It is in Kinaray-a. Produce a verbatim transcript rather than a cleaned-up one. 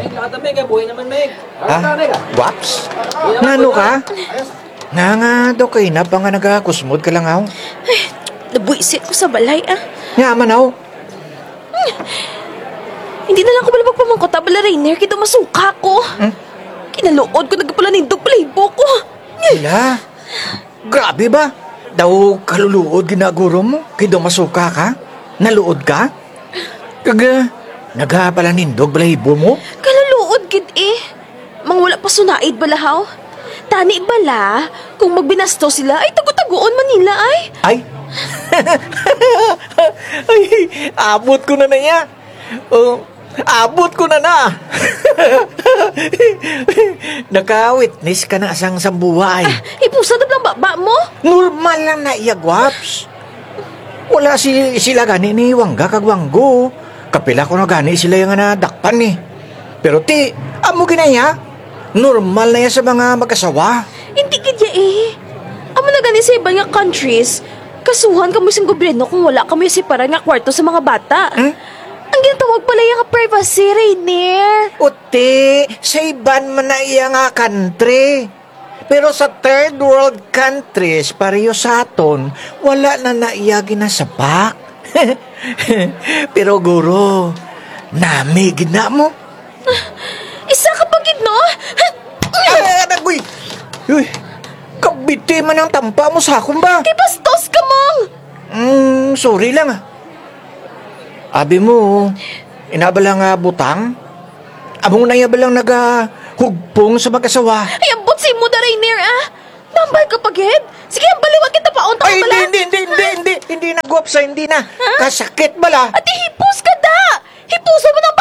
Ay, lakad na, Meg, ah. Buhi naman, Meg. Ha? Lakad na, Meg, ah. Gwaps? Nano ka? Nga nga daw kay na pa nga nagakusmod ka lang, aw. Ay, nabwisit ko sa balay, ah. Nya man, aw. Hindi na lang ko bala magpamangkot, ah, bala Rainier, kay daw masuka ko. Hmm? Kinaluod ko, nagpalanindog balahibo ko. Hala. Grabe ba? Daw kaluluod gid na guro mo, kay daw masuka ka? Naluod ka? Kag, ah, nagapalanindog balahibo mo? Kaluluod gid eh. Mang wala pa sunaid bala haw. Tani bala, kung magbinastos sila, ay tago-tagoon man nila ay. Ay? Ay, abot ko na na iya. Oh, abot ko na na. Naka-witness ka na sang sambuwa ay. Ah, hipusa na bala ang baba mo. Normal lang na iya, Gwaps. Wala si, sila gani ni Wangga kag Wanggo. Kapila ko na gani sila nga nadakpan eh. Pero ti, amo gid na iya. Normal na iya sa mga mag-asawa. Hindi gid ya eh. Amo na gani sa iban nga countries, kasuhan kamo sang gobyerno kung wala kamo separar nga kwarto sa mga bata. Hmm? Ang ginatawag bala ya nga privacy, Rainier. Uti, sa iban man na iya nga country. Pero sa third world countries, pareho sa aton, wala na na iya ginasapak. Pero guro, nami gid na mo. Isa ka pa gid, no? Ay, anak, uy! Uy, kabiti man ang tampa mo sa akon ba? Kay bastos ka, Mang! Mm, sorry lang, ah. Abi mo, ina bala nga butang? Amo na iya bala nga nagahugpong sa mag-asawa. Ay, ambot sa imo da, Rainier, ah! Tambal ka pa gid? Sige, ambal liwat kita pa, unta ka bala. Ay, hindi, hindi, hindi, hindi, hindi, hindi na, Gwaps, hindi na. Ha? Kasakit bala. Ati, hipos ka da! Hipusa man ang